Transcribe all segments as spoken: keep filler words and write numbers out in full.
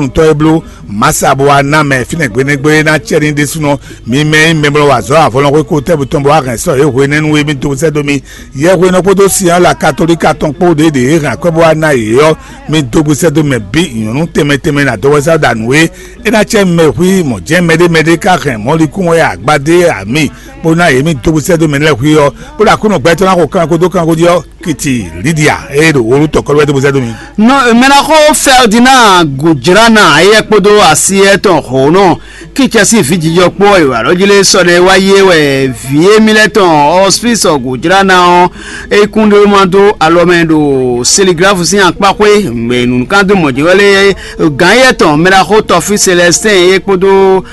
nutɔ́ e bló masa bó wá ná mɛ fínɛ́ gbeɖégbé ná cɛ ní ɖésúnɔ. Mi mɛ e nyí mɛ bɔ wa azɔ̌ avɔlɔnxwé ko tɛ́ butɔn bó wá hɛn sɔ́ yě hwenɛ́nu e mì dó sɛ́ dó mi. Yɛhwenɔ kpódó Sinyɔ́la Katolíka tɔn kpó ɖě ɖě e hɛn akwɛ́ bó wá ná yě ɔ́, mi dó gbe sɛ́ dó mɛ bǐ nyɔ̌nu tɛnmɛ tɛnmɛ ná dó wɛzá ɖo nǔ e é ná cɛ mɛ hwí mɔ̌ jɛ́n mɛɖé mɛɖé ka hɛn mɔ̌likún wɛ agbadé ami bó ná yě mi dó gbe sɛ́ dó mɛ lɛ́ɛ hwí ɔ́, bó ɖo Aklúnɔ gbɛtɔ́ ná xo kanko dó kanko jí ɔ́, kiti Lidia e ɖo wolu tɔkɔlɔ wɛ dó gbe sɛ́ dó mi. Non, mɛ ná xo Ferdinand Gojrana éyɛ́ kpódó asi étɔn Honɔ Kítsɛ sín vǐjijɔ kpó wɛ è wǎ ɖɔ jí lé sɔ ɖɛ wá yé wɛ vǐ émí lɛ́ɛ tɔn ɔ́, Spísɔ Gojrana ɔ́, é kún ɖé ma dó alɔ mɛ ɖo Seligláfu sín akpáxwé mɛ nǔkán dó mɔ̌ jɛ wɛ lé gǎn éyɛ́ tɔn mɛ ɖaxó tɔfí Selɛstɛ́n é kpódó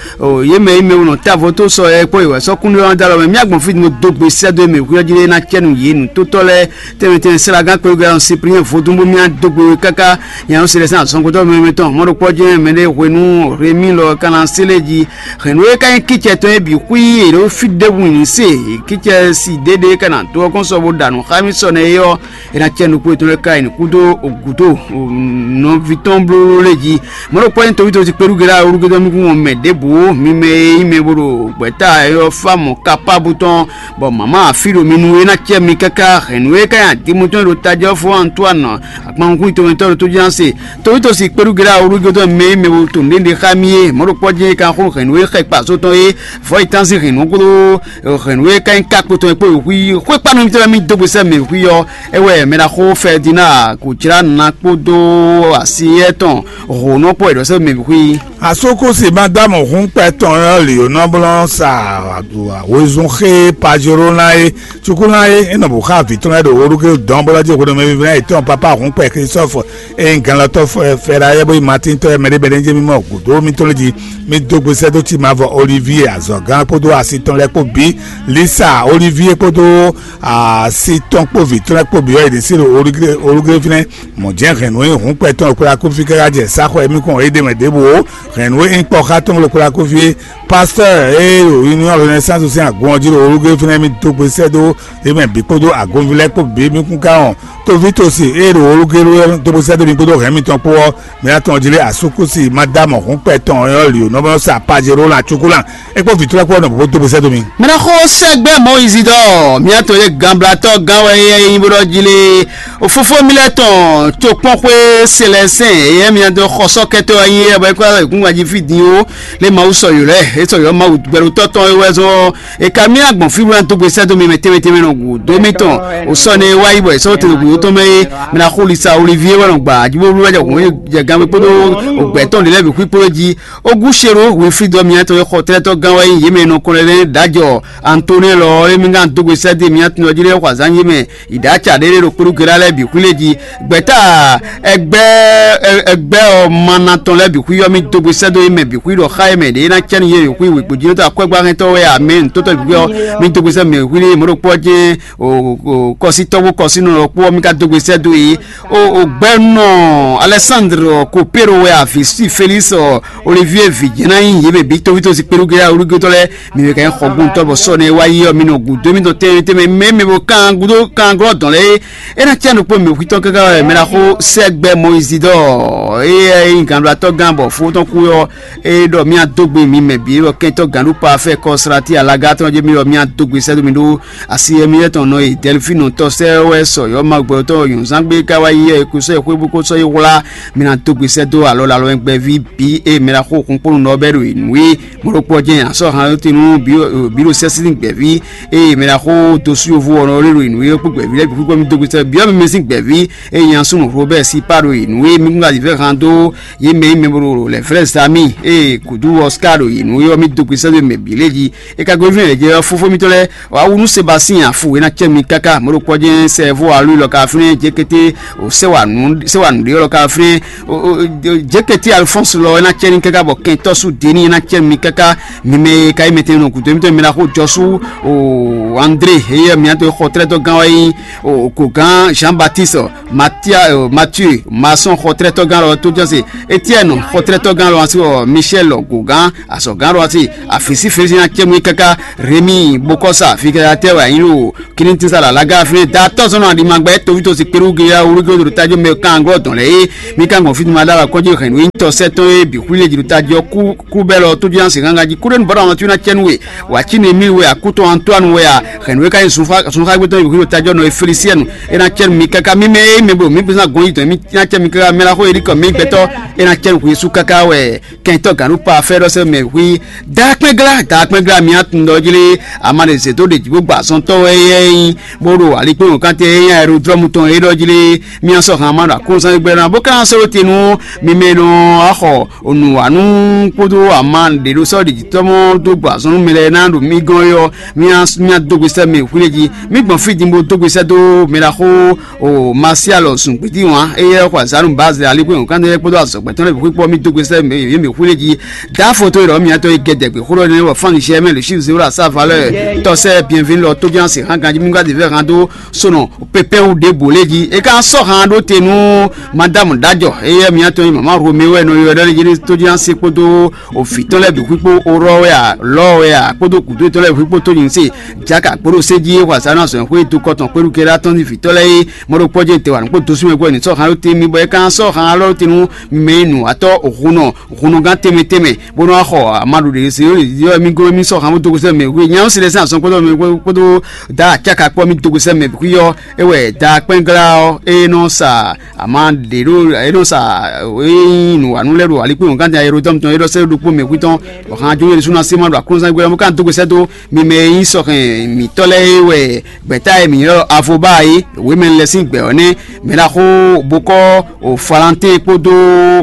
yě mɛ e mɛ wunɔ távo tó sɔ é kpó è wɛ sɔ́ kún ɖé ɔ́ dó alɔ mɛ. Mì agbɔ̌n fí din dó gbe sɛ́ dó e mɛ hwíyɔ́ jí ɖé ná cɛ nǔ yě nǔtótɔ́ lɛ́ɛ tɛnmɛ tɛnmɛ Selagan kpéɖó Siprinyɛn vodún bó mì dó gbe we káká. Nya ɔ́ se ɖɛ́ sín azɔngbɔtɔ́ mɛmɛ tɔn mɔ̌ ɖokpɔ́ jɛ́n mɛɖé hwenu Remi lɔ ka ná se lé jí. Hɛ̌nnu e ka nyí kícɛ tɔn é bǐ xwí è ɖǒ fí ɖěbǔ nyi se kícɛ si ɖěɖě ka ná dó ɔ́ kɔn sɔ bó ɖa nǔ xá mì sɔ nɛ é ɔ́, é ná cɛ nukún yětɔn lɛ́ɛ ká yi nǔ kúdó gǔdo nɔví tɔn bló lé jí. Mɔ̌ ɖokpɔ́ nyí tɔví tɔví kpéɖúgbe ɖo awúrúgbédɔ́ nukún mɛ ɖěbǔ mi mɛ e nyí mɛ bó ɖo gbɛ̌ta ɔ́ fá mɔ̌ kápá bú tɔn, bɔ mǎmá afí ɖo mi nu é ná cɛ mi káká hɛ̌nnu e ka nyí adimutɔ́n ɖo tajɔ́fó Antoine akpankún tɔmɛtɔ́ ɖo tójúná se. Tɔví tɔví kpéɖúgbe ɖo awúrúgbédɔ́ mɛ e mɛ bó to nǔɖé xá mì é, mɔ̌ ɖokpɔ́ jɛ́n é ka xó hɛ̌nnu e xɛ kpa só tɔn é, vɔ̌ yi tánzin hɛ̌nnu kúdó hɛ̌nnu e ka nyí ká kpotɔn e kpó xwí xwé kpanu mitɔn lɛ́ɛ mì dó gbe sɛ́ mɛ xwí ɔ́, é wɛ mɛ ɖaxó Fɛdina kò jlá na kpódó asi étɔn hǒnɔ kpó wɛ ɖɔ sɛ́ mɛ xwí. Asókúsi Madámu hún kpɛ tɔn ɔ́ lǐ ó nɔ blɔ́ sa wezun xé Pajolóna é, Cukulán é, é nɔ bǔ xá vǐ tɔn lɛ́ɛ ɖo Olúgé dɔn bó lɔ́ jí hwenu mɛ vívɛ́ná yětɔn pápá hún kpɛ Klistɔ́fu e nyí ganlɔ́tɔ́ Fɛɖayɛ́ bó nyí Matíntɔ́ é mɛɖé mɛɖé jɛ́n mì mɔ gǔdo mitɔn lɛ́ɛ jí. Mì dó gbe sɛ́ dó cí mavɔ Olivie azɔ̌gán kpódó asi tɔn lɛ́ɛ kpó bǐ, Lisa Olivie kpódó asi tɔn kpó vǐ tɔn lɛ́ɛ kpó bǐ ɔ́, yě ɖě sí ɖo Olúgé fínɛ́. Mɔ̌ jɛ́n hɛ̌nnu e nyí hǔnkpɛ tɔn ɖo kplá kúfí káká jɛ sá xɔ e mì kɔn é ɖ'é mɛ ɖěbǔ ó. Hɛ̌nnu e nyí kpɔ́ xá tɔn ɖo kplá kúfí é, pastɔ́ɔ e ɖo Union Renaissance sín agun ɔ́ jí ɖo Olúgé fínɛ́ mì dó gbe sɛ́ dó yě mɛ bǐ kpódó agunví lɛ́ɛ kpó bǐ mì kún ká wɔn. Tovítɔ́si e ɖo Olúgé dó gbe sɛ́ dó mi kpódó hɛ̌n mitɔn kpó ɔ́, mǐ ná tɔn jí lé asúkúsi Madámu hǔnkpɛ tɔn ɔ́ lǐ ó nɔ bɔ sa Pajero la cukú la. É kpó vǐ tlɔ́ kpó ɔ́ nɔ bó dó gbe sɛ́ dó mi. Mɛ ná xó sɛ́gbɛ́ Mɔyízi ɖɔ mǐ ná tɔn yé ganblatɔ́ gán wɛ éyɛ́ nyí bó ɖɔ jí lé. Fofó mi lɛ́ɛ tɔn tokpɔ́nxwé Selɛsɛn éyɛ́ mǐ ná dó xɔ sɔ́kɛ́tɔ́ wɛ nyí é bɔ é kó wá kún wá jí fí din ó. Lé Mawu sɔ yǒ lɛ́ɛ é sɔ yǒ Mawu gbɛɖotɔ́ tɔn é wɛ zɔn é ka mì agbɔn fí bó ná dó gbe sɛ́ dó mi mɛ tɛnmɛ tɛnmɛ nɔ gǔdo mitɔn. O sɔ ne wá yi bɔ è sɔ́ tɛnɛ gǔdo tɔn mɛ é mɛ ná xó lisa Olivie wɛ nɔ gba ajibobló wɛ jɛ hǔn jɛ gangbé kpódó ògbɛ́tɔn lě lɛ́ɛ bǐ xwí kpódó jí. Ogúṣero Winfrídɔ miatɔn e xɔ tlɛ́tɔ́ gán wɛ nyí yě mɛ e nɔ kɔn lɛ́ lɛ́ ɖǎjɔ Antoní lɔ é mí gán dó gbe sɛ́ dé miatɔn jí lɛ́ xɔ azǎn yé mɛ yi ɖǎ acǎ ɖé ɖé ɖo kplúgela lɛ́ɛ bǐ xwí lé jí. Gbɛ̌ta ɛgbɛ́ ɛgbɛ́ ɔ́ mana tɔn lɛ́ɛ bǐ xwí ɔ́, mì dó gbe sɛ́ dó yé mɛ bǐ xwí ɖɔ xá yé mɛ ɖě ná cɛ́ nú yé xwí wěgbójínɔtɔ́ akwɛ́gbáhɛntɔ́ wɛ amɛ nǔtɔ́tɔ́ bǐ xwí ɔ́, mì dó gbe sɛ́ mɛ xwí lé mɔ̌ ɖokpó ɔ́ jɛ́n kɔsítɔ́ kpó kɔsínɔ lɔ kpó ɔ́, mì ka dó gbe sɛ́ dó yě. O gbɛ́nɔ Alɛsándr Kopéro wɛ avǐ sí Felísi Olivie vǐ jɛ́n ná nyí yě mɛ bǐ tóvítósi kpéɖúgéɖá olúgétɔ́ lɛ́ɛ. Mi mɛ ka nyí xɔgbóntɔ́ bɔ sɔ́ nɛ́ wá yi ɔ́, mi nɔ gǔdo émítɔn tɛnmɛ tɛnmɛ mɛ mɛ bo kan gúdo kan glɔ́ dɔn lɛ́ɛ é. É ná cyán ɖokpó mɛ hwítɔ́ káká wɛ mɛ ná xó sɛ́gbɛ́ Mɔyízi ɖɔ éyɛ́ é nyí gǎnɖulatɔ́ gán bɔ fó tɔn kú ɔ́, é ɖɔ mì adó gbe mi mɛ bǐ bɔ kɛntɔ́ gǎnɖupa fɛ kɔslatí alaga tɔn jɛ mi bɔ mì adó gbe sɛ́ dó mi ɖó asi e mi lɛ́ tɔn nɔ e Dɛlifínu tɔ́ sɛ́ wɛ sɔ yɔ́ ma gbɛtɔ́ nyɔ̌zán gbé ká wá yi ɛ kú sɔ́ yi xwé bó kó sɔ́ yi wlá. Mi ná dó gbe sɛ́ dó alɔ lalɔ gbɛví bǐ e mɛ ná xó kún kpónú nɔ bɛ́ ɖo nǔ e mɔɖokpɔ́ jɛ́n asɔ́ han tinu bǐ ɖo sɛ́sí gbɛví e mɛ ná xó dó sú yovo ɔ́ nɔ lé ɖo nǔ e kpó gbɛví lɛ́ɛ bǐ kpó mi dó gbe sɛ́ bǐ ɔ́ mi mɛ sín gbɛví e nya súnnu Robert Sipa ɖo nǔ e mi kún ka zǐ fɛ́ han dó yě mɛ e mɛ bo ɖo lɛ̌ flɛ́ zami e kǔdú Oscar ɖo nǔ e ɔ́ mi dó gbe sɛ́ dó mɛ bǐ lé jí. E ka gosín lɛ̌ jɛ ɔ́, fófó mitɔn lɛ́ɛ wǎ wú nú Sebasín afu e ná cɛ mi káká mɔ̌ ɖokpɔ́ jɛ́n sɛ́vó alú lɔ ka flɛ́n jɛkɛtɛ o sɛ́wanu sɛ́wanu ɖé lɔ ka flɛ́n o jɛkɛtɛ Alfɔ́nsu lɔ e ná cɛ ní káká bɔ kɛntɔ́ sú Deni e ná cɛ mi káká mi mɛ e ka yi mɛtɛn nɔ gǔdo mitɔn mi ná xó jɔ sú o André e yɛ miatɔ xɔ tlɛ́tɔ́ gán wá nyí o kogán Jean Baptiste Matia Mathieu Masɔn xɔ tlɛ́tɔ́ gán lɔ tó jɔ se Etienne xɔ tlɛ́tɔ́ gán lɔ asi Michel gogán azɔ̌gán lɔ asi afisi fesi ná cɛ mi káká Rémi Bokɔsa fikɛyatɛ wɛ anyi ɖo Kilintinsa la laga fínɛ́ da tɔ́ sɔ́ nɔ aɖimagbɛ tovítɔ́ si kpéɖú geyá wúlúgbé ɖo tájɔ mɛ kan glɔ́ dɔn lɛ é mi ka gbɔn fínú ma ɖó alɔ kɔ́ jí hɛn nǔ e nyí tɔsɛ́ tɔn e bǐ xwlí lě jí ɖo tají ɔ́ kú kú bɛ́ lɔ tójú ná sin gángan jí kúɖénu bɔ́ ɖo amɔtú ná cɛ́nú we wǎ cí nú émí we akútɔn Antoine we a hɛn nǔ e ka nyí zunxágbé tɔn e bǐ xwlí ɖo tají ɔ́ nɔ e Felisiɛnu é ná cɛ́nú mi káká mímɛ́ e mɛ blo mǐ gbésán gɔn yi tɔn mì ná cɛ́nú mi káká mɛ ná xó e ɖi kɔ mì gbɛtɔ́ é ná cɛ́nú xwǐ sú káká wɛ kɛntɔ́ gǎn ɖó pa fɛ́ ɖɔ sɛ́ mɛ hwí. Daakpɛ́nglá daakpɛ́nglá mi atun ɖɔ jlé ama ɖe zě dó ɖe jǐ bó gba azɔntɔ́ wɛ éyɛ́ nyí bó ɖo alikpéwɔnkántɛ e nyí aerodrɔ́mu tɔn é ɖɔ jlé mì asɔ́ han ma ɖo akónzán gbɛ́ ná bó ka ná sɔ́ ɖó te nú mi mɛ e nɔ wá xɔ nǔwanú kpódó ama ɖě ɖó sɔ́ ɖějítɔ́ mɔ dó gbɔ azɔn nú mɛ lɛ́ɛ ná ɖo mì gɔ́n é ɔ́, mì ná dó gbe sɛ́ mɛ hwilé jí. Mì gbɔn fí din bó dó gbe sɛ́ dó mɛ ɖaxó o Masialɔ zungbídí wǎn, éyɛ́ xɔ azǎn nú Bazilɛ alíkún nyɔ̌nukántɔ́ lɛ́ɛ kpódó azɔ̌gbɛ́tɔ́ lɛ́ɛ bǐ xwíkpɔ́ mì dó gbe sɛ́ mɛ yě mɛ hwilé jí. Dǎ foto e ɖɔ mǐtɔn e gɛdɛ gbe xó ɖɔ nɛ́ bɔ fán nyi mɛ le Chine zéro à sa valeur tɔsɛ bienvenue lɔ tóján se hán ganjí mí gba de vɛ hán dó sonɔ pépé wú ɖěbǔ lé jí. É ka sɔ́ hán ɖó te nú madame Dajɔ, éyɛ́ mǐtɔn e mama Romeo wɛ nɔ ylɔ́ ɖɔ lé jí tóján se kpódó òfǐ tɔn lɛ́ɛ bǐ xwíkpó orɔ wɛ a lɔ wɛ a kpódó gǔdo tɔn lɛ́ɛ bǐ xwíkpó tó nyi se jaka kpódó sé jí é xɔ azǎn azɔ̌ xwé dó kɔtɔn kpéɖu kɛɖá tɔn ní vǐ tɔn lɛ́ɛ é mɔ ɖo kpɔ́ jɛ te wǎ nukpó dosú mɛ gbɔ ní sɔ́ hán ɖó te mí bɔ é ka sɔ́ hán lɔ ɖó te nú mɛ e nǔ wá tɔ́ hǔn nɔ húnnugán tɛnmɛ tɛnmɛ bó nɔ́ wá xɔ amadu ɖě ɖésú yɔ mì gɔ́n mì sɔ́ han bó dó gosɛ́ mɛ hwé nyáwó si lɛ́ sín azɔn kpódó mɛ kpódó da acáka kpɔ́ mì dó gosɛ́ mɛ hwí ɔ́ é wɛ da kpɛ́nglá ɔ́ é nɔ sa ama ɖě ɖó é nɔ sa é nyí nǔwanú lɛ́ɛ ɖo alikpé wɔ̌ngán da Herodɔ́mu tɔn é ɖɔ sɛ́ ɖokpó mɛ hwí tɔn bɔ han jó yɛ ɖésú ná sé ma ɖo aklúnɔzán gbé ɔ́ mɛ ká dó gosɛ́ dó mi mɛ e nyí sɔhɛn mǐtɔ́ lɛ́ɛ é wɛ gbɛ̌ta e mǐ ylɔ́ Avoba é wěmɛ lɛ́ɛ sín gbɛ̌ ɔ́ nɛ́ mɛ ɖaxó bokɔ́ o Falantín kpódó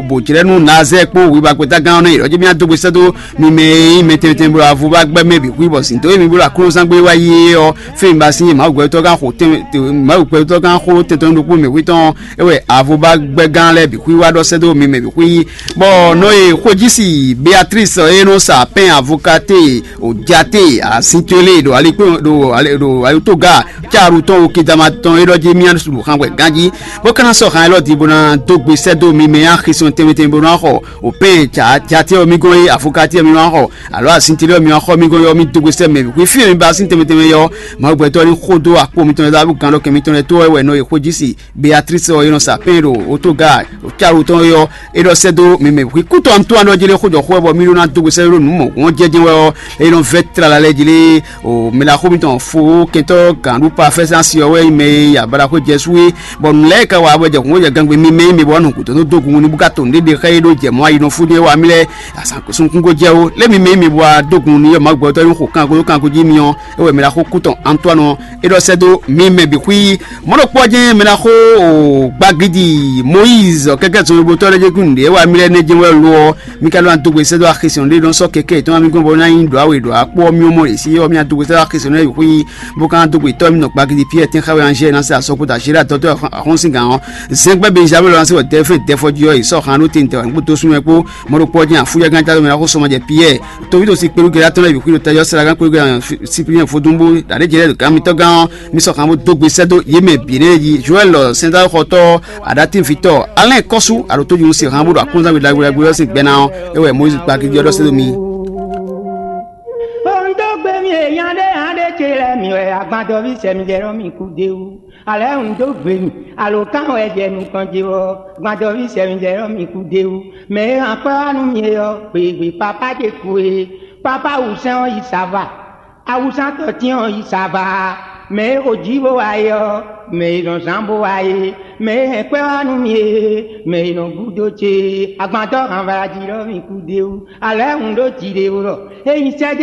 bǒjlɛ́nú Nazɛ́ɛ kpó wibagbetagán ɔ́ nɛ́ yě ɖɔ jí mì adó gbe sɛ́ dó mi mɛ e nyí mɛ tɛnmɛ tɛnmɛ bó ɖo avo ba gbɛ́ mɛ bǐ xwí bɔ zǐn dó émí bó ɖo aklúnɔzán gbé wá yi é ɔ́, fí mi ba sín Mawu gbɛtɔ́gán xo tɛn Mawu gbɛtɔ́gán xó tɛn tɔn ɖokpó mɛ hwí tɔn é wɛ avo ba gbɛ́gán lɛ́ɛ bǐ xwí wá ɖɔ sɛ́ dó mi mɛ bǐ xwí. Bɔ nɔ e xwéjísi Beatrice e nɔ sa pɛn avokaté o jate asin towe lé ɖo alikpé ɖo ɖo ayotoga Caru tɔn o Kedama tɔn e ɖɔ jí mía su ɖo xangbɛ ganjí, bó ka ná sɔ́ han élɔ́ din bó ná dó gbe sɛ́ dó mi mɛ nyi axi sɔn tɛnmɛ tɛnmɛ bó ná xɔ o pɛ́n jatɛ́ ɔ́ mì gɔ́n e afokatɛ́ ɔ́ mi ná xɔ, alo asintelé ɔ́ mi wá xɔ mì gɔ́n é ɔ́, mì dó gbe sɛ́ mɛ bǐ. Xwefí e mi ba sín tɛnmɛ tɛnmɛ yɔ, Mawu gbɛtɔ́ ní xo dó akpo mitɔn e ɖo gǎn ɖɔ kɛn mitɔn lɛ́ɛ tó wɛ wɛ nɔ e xwéjísi Beatrice ɔ́ e nɔ sa pɛ́n ɖo otóga Caru tɔn é ɔ́, é ɖɔ sɛ́ dó mi mɛ hwi kútɔ́ Antoine ɔ́ jlé xó jɔ xó wɛ bɔ mì ɖó ná dó gbe sɛ́ ɖó nǔ mɔ̌hunkɔ́n jɛ́jɛ́n wɛ ɔ́, é nɔ vɛ́ tlala lɛ́ɛ jlé. O mɛ ɖaxó mitɔn fo kɛntɔ́ gǎn ɖu pa fɛ́sán si ɔ́ wɛ nyí mɛ e yi abalaxó jɛ sú é, bɔ nǔ lɛ́ɛ ka wa bɔ jɛ hǔn jɛ gangbe mi mɛ nyí mi bɔ nǔ gǔdo nú dó gun ní bó ka to nǔɖé ɖe xá é ɖó jɛ mɔ̌ ayi nɔ fú jɛ́n wá mì lɛ́ɛ asǎn sunkún ko jɛ ó. Lé mi mɛ nyí mi bɔ dó gun ní yɔ Mawu gbɛtɔ́ ní xo kanko dó kanko jí mi ɔ́, é wɛ mɛ ɖaxó kútɔn Antoine ɔ́ é ɖɔ sɛ́ dó mi mɛ bǐ xwí. Mɔ̌ ɖokpó ɔ́ jɛ́n mɛ ná xó gbagidi Moyízi kɛ́kɛ́ zɔnlin bó tɔ́ lɛ́ɛ jɛ kún nǔɖé wá mì lɛ́ɛ nɛ́ jɛ́n wɛ lo ɔ́, mi ka ɖó ná dó gbe sɛ́ dó axi sɔn ɖé nɔ sɔ́ kɛkɛ yětɔn ná mi gbɔn bɔ ná nyí ɖǒ awe ɖǒ akpó ɔ́ mì ɔ́ mɔ ɖě sí ɔ́ mì ná dó gbe sɛ́ dó axi sɔn ɖé xwí, bó ka ná dó gbe tɔ́ mì nɔ gbagidi Piyɛ́ɛ tɛ́nxá wɛ Anzɛ́ɛ ná se asɔkpo da Zéla dɔtɔ́ axɔ́síngǎn ɔ́. Zɛ́ngbɛ́ Benjamin lɔ ná se wɔ Dɛfɛ́n dɛfɔjí ɔ́ yi sɔ́ han ɖó tɛntɛ wǎ kpó dó súnmɛ kpó. Mɔ̌ ɖokpó ɔ́ jɛ́n afúyɛ́gán játɔ́ mɛ ná xó sɔmɔjɛ Piyɛ́ɛ. Toví ɖo sin kpelú gɛlá tɔn lɛ́ɛ bǐ xwí ɖo tajɔ sɛ́lagán kpelú gɛlá Sipliyɛn vodúnbú ɖaɖéjɛ lɛ́ɛ ɖo gǎn mitɔ́ gán ɔ́, mi sɔ́ han bó dó gbe sɛ́ dó yě mɛ bǐ lɛ́ɛ jí. Joɛ́li lɔ sɛndáxɔtɔ́ Aɖatín vǐtɔ́ Alɛ́n kɔ́sú aɖǒtójúnú se han bó ɖo aklúnɔzán we ɖagbe ɖagbe ɔ́ sín gbɛ ná ɔ́, é wɛ Mɔyízi kpa gígí ɔ́ ɖɔ sɛ́ dó mi. Ó ń dó gbe mì èèyàn ɖé hǎn ɖé ce lɛ́ɛ mì wɛ agbadɔví sɛ mi jɛ ɖɔ mì kú d'é wú. Alɛ́ un dó gbe mì, alǒkan wɛ jɛ nukɔn ce ɔ́, gbadɔví sɛ mi jɛ ɖɔ mì kú d'é wú. Mɛ e hán kpɛ́ wá nú mi é ɔ́, gběgbé pápá ce kú é. Pápá wǔsɛ́n ɔ́ yi sava. Awusantɔ́ tín ɔ́ yi sava. Mɛ e xo jǐ bó wá é ɔ́, mɛ e nɔ zán bó wá é. Mɛ e hɛn kpɛ́ wá nú mi é, mɛ e nɔ gúdo ce é. Agbantɔ́ hanvalají ɖɔ mì kú d'é wú. Alɛ́ un ɖó jǐ ɖé wú ɖɔ é nyi sɛ́